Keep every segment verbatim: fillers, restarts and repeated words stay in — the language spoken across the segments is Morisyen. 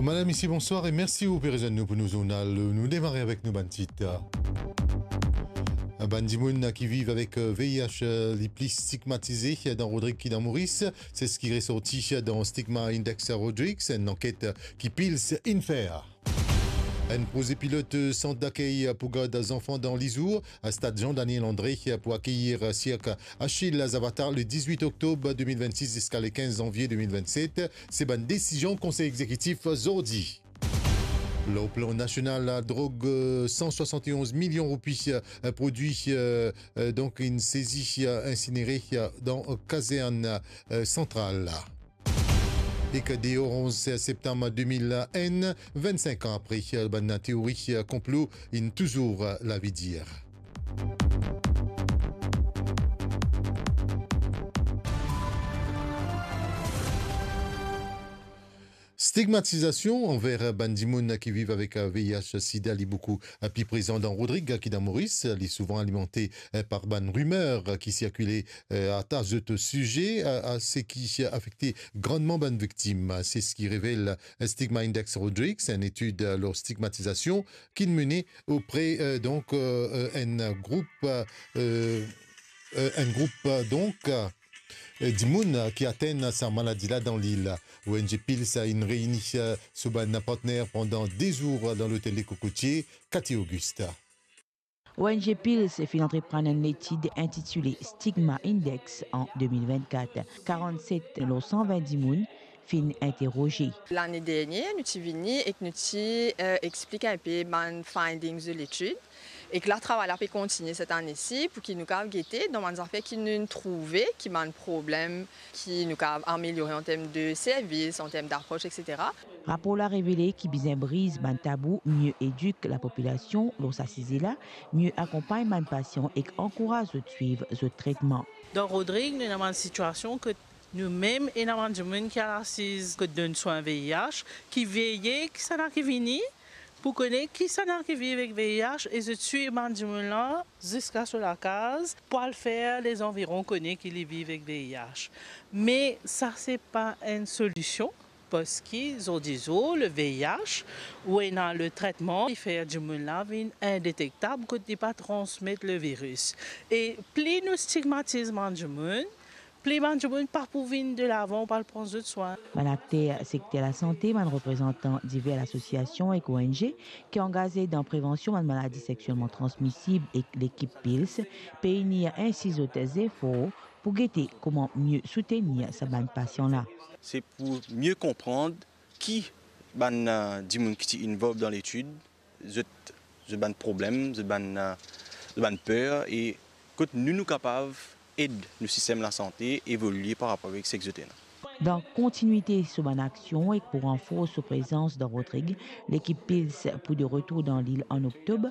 Madam, misiez, bonswar e mersi ou pe rezwenn nou pou nou zournal. Nou demare avek nou bann tit. Bann dimoun ki viv avek V I H li pli stigmatize dan Rodrig ki dan Moris, se seki resorti dan Stigma Index Rodrig, enn lanket ki Pils inn fer. Enn proze pilot sant dakey pou gard zanfan dan lizour, stad Jean Daniel André pou akeyir sirk Achille Zavata le diz-wit oktob de mil vennsis ziska le kinz zanvie de mil vennset, se bann desizion Konsey Egzekitif zordi. Lor plan nasional, drog, eh, san swasant-e-onz milion roupi, eh, prodwi, eh, eh, donk inn sezi, eh, insinere, eh, dan kazern, eh, santral. Ek deor onz septam de mil enn, vennsink an apre, bann teori konplo inn touzour lavi dir. Stigmatizasion anver bann dimoun ki viv avek V I H sida, li boukou pli prezan dan Rodrig ki dan Moris. Li souvan alimante par bann rimer ki sirkile, eh, ata zot size, a, a seki afekte grandman bann viktim. Se seki revel Stigma Index Rodrig, enn etid lor stigmatizasion ki mene opre, eh, donk, eh, enn group, eh, eh, enn group, eh, donk, eh, dimoun ki atenn sa maladi la dan lil. O N G Pils inn reini, eh, so bann partner pandan de zour dan lotel Le Cocotier, Cathy Auguste. O N G Pils finn antreprann enn letid intitile Stigma Index an de mil vennkat. Karannset lor san vin dimoun finn interoze. Lane dernie, nou ti vini ek nou ti, eh, explik inpe bann findings de letid. Ek la, travay la pe kontinie set ane si pou ki nou kav gete dan bann zafer ki nou trouve ki bann problem ki nou kav ameliore an term de servis, an term d'apros, et cetera. Rapor la revele ki bizin briz bann tabou, mie edik lapopilasion lor sa size la, mie akonpagn bann pasian ek ankouraz zot swiv zot tretman. Dan Rodrig, nou ena bann sitiasion kot nou mem ena bann dimoun ki al asiz kot donn swin V I H, ki veye kisannla ki vini, pou kone kisannla ki viv ek V I H, e zot swiv bann dimoun la ziska so lakaz, pou al fer lezanviron kone ki li viv ek V I H. Me sa se pa enn solision, parski zordi zour, le V I H, ou ena le tretman, li fer dimoun la vinn indetektab kot li pa transmet le viris. E pli nou stigmatiz bann dimoun, pli bann dimoun pa pou vinn delavan pou al pran zot swin. Bann akter sekter lasante, bann reprezantan diver lasosiasion ek O N G ki angaze dan prevansion bann maladi seksielman transmisib ek lekip Pils pe inir ensi zot zefor pou gete kouma mie soutenir sa bann pasian la. Se pou mie konpran ki bann, eh, dimoun ki ti involve dan letid, zot, zot bann problem, zot bann, eh, zot bann per, e kot nou, nou kapav ed nou sistem lasante evolie par rapor avek seki zot ena. Dan kontinwite so bann aksion ek pou ranfors so prezans dan Rodrig, lekip Pils pou de retour dan lil an oktob.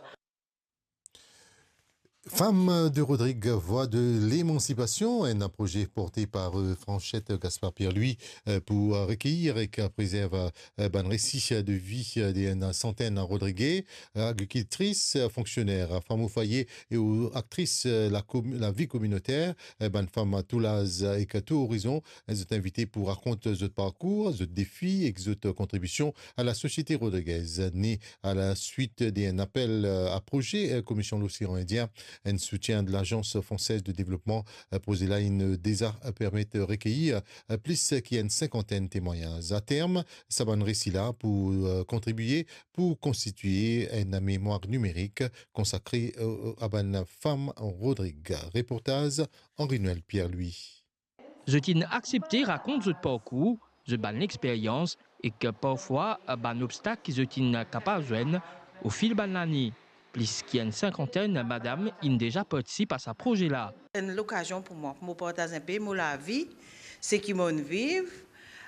Femmes de Rodrig, voix de l'émancipation, enn proze porte par, eh, Franchette Gaspard Pierre-Louis, eh, pou, eh, rekeyir ek, eh, prezerv, eh, bann resi de vi, eh, de enn santenn Rodrige, eh, agrikiltris, eh, fonksioner, femme au foyer e ou aktris, eh, la komi-, lavi kominoter, eh, bann fam tou laz, eh, ek tou orizon, eh, zot invite pou rakont zot parkour, zot defi ek zot kontribision a lasosiete rodrigez. Ne a la suit de enn apel, eh, a proze, eh, Komision Losean Indien, enn soutien de Lagans Fransez de Devlopman, eh, proze la inn deza permet rekeyir, eh, plis ki enn sinkantenn temwagnaz. A term, sa bann resi la pou, eh, kontribie pou konstitwie enn memwar nimerik konsakre, eh, a bann fam Rodrig. Reportaz Henri-Noël Pierre-Louis. Zot inn aksepte rakont zot parkour, zot bann lexperyans ek parfwa bann obstak ki zot inn kapav zwenn ofil bann lane. Plis ki enn sinkantenn madam inn deza partisip a sa proze la. Enn lokazion pou mwa, pou mo partaz inpe mo lavi, seki mo'nn viv,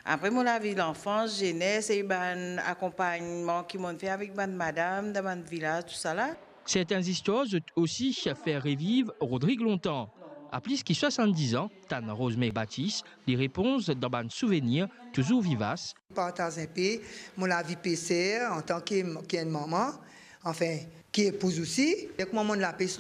apre mo lavi lanfans, zenes e bann akonpagnman ki mo'nn fer avek bann madam dan bann vilaz, tousala. Serten zistwar zot osi fer reviv Rodrig lontan. A plis ki swasann-diz an, tann Rosemary Baptiste, li reponz dan bann souvenir touzour vivas. Partaz inpe mo lavi peser antan ki, ki enn mama, anfin, ki epouz osi. Ek mwa mo'nn lapes